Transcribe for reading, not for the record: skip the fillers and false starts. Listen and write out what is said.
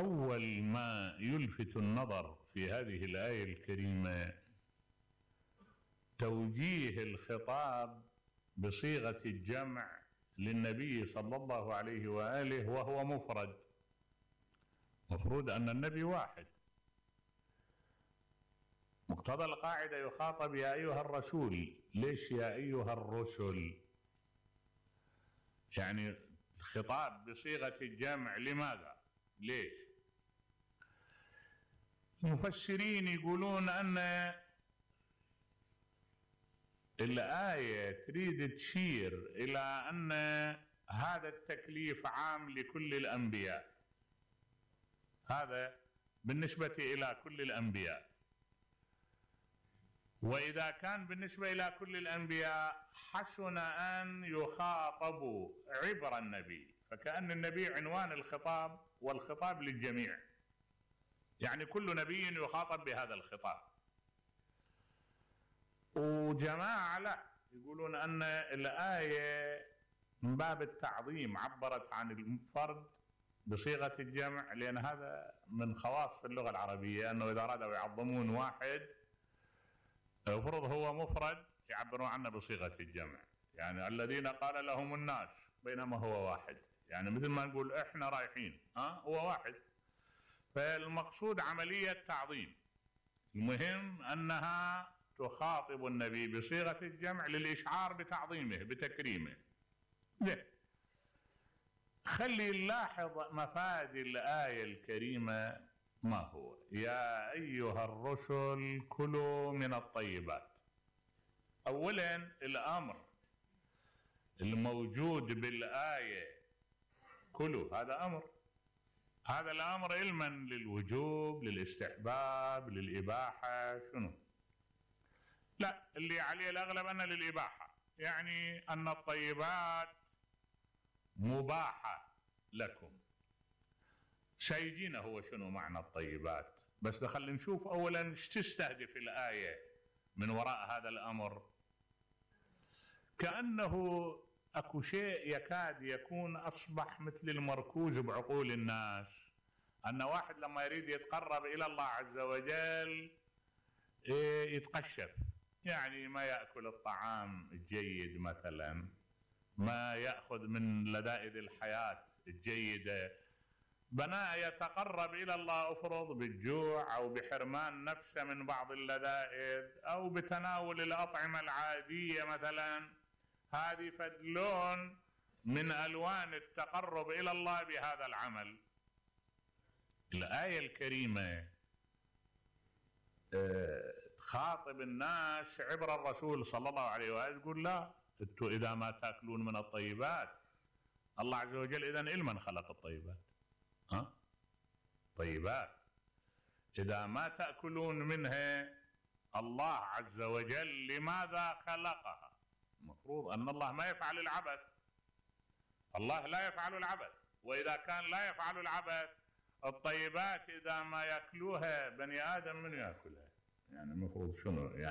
أول ما يلفت النظر في هذه الآية الكريمة توجيه الخطاب بصيغة الجمع للنبي صلى الله عليه وآله وهو مفرد. مفروض أن النبي واحد. مقتضى القاعدة يخاطب يا أيها الرسول. ليش يا أيها الرسل؟ يعني خطاب بصيغة الجمع لماذا؟ ليش؟ المفسرين يقولون أن الآية تريد تشير إلى أن هذا التكليف عام لكل الأنبياء. هذا بالنسبة إلى كل الأنبياء، وإذا كان بالنسبة إلى كل الأنبياء حسن أن يخاطبوا عبر النبي، فكأن النبي عنوان الخطاب والخطاب للجميع، يعني كل نبي يخاطب بهذا الخطاب. وجماعة لا يقولون أن الآية من باب التعظيم عبرت عن الفرد بصيغة الجمع، لأن هذا من خواص اللغة العربية أنه إذا أرادوا يعظمون واحد المفروض هو مفرد يعبرون عنه بصيغة الجمع، يعني الذين قال لهم الناس بينما هو واحد، يعني مثل ما نقول إحنا رايحين هو واحد. فالمقصود عملية تعظيم. المهم أنها تخاطب النبي بصيغة الجمع للإشعار بتعظيمه بتكريمه. خلي نلاحظ مفاد الآية الكريمة ما هو. يا أيها الرسل كلوا من الطيبات. أولا الأمر الموجود بالآية كلوا هذا أمر، هذا الأمر علما للوجوب للاستحباب للإباحة شنو؟ لا، اللي عليه الأغلب أن للإباحة، يعني أن الطيبات مباحة لكم. سيجينا هو شنو معنى الطيبات، بس خلينا نشوف أولا ايش تستهدف الآية من وراء هذا الأمر. كأنه أكو شيء يكاد يكون أصبح مثل المركوز بعقول الناس، أن واحد لما يريد يتقرب إلى الله عز وجل يتقشف، يعني ما يأكل الطعام الجيد مثلا، ما يأخذ من لذائذ الحياة الجيدة، بناء يتقرب إلى الله أفرض بالجوع أو بحرمان نفسه من بعض اللذائذ أو بتناول الأطعمة العادية مثلا. هذه فدلون من ألوان التقرب إلى الله بهذا العمل. الآية الكريمة تخاطب الناس عبر الرسول صلى الله عليه وآله، تقول لا انتوا إذا ما تأكلون من الطيبات، الله عز وجل إذن إلمن خلق الطيبات؟ طيبات إذا ما تأكلون منها الله عز وجل لماذا خلقها؟ المفروض أن الله ما يفعل العبث، الله لا يفعل العبث، وإذا كان لا يفعل العبث الطيبات إذا ما يأكلوها بني آدم من يأكلها؟ يعني المفروض شنو يعني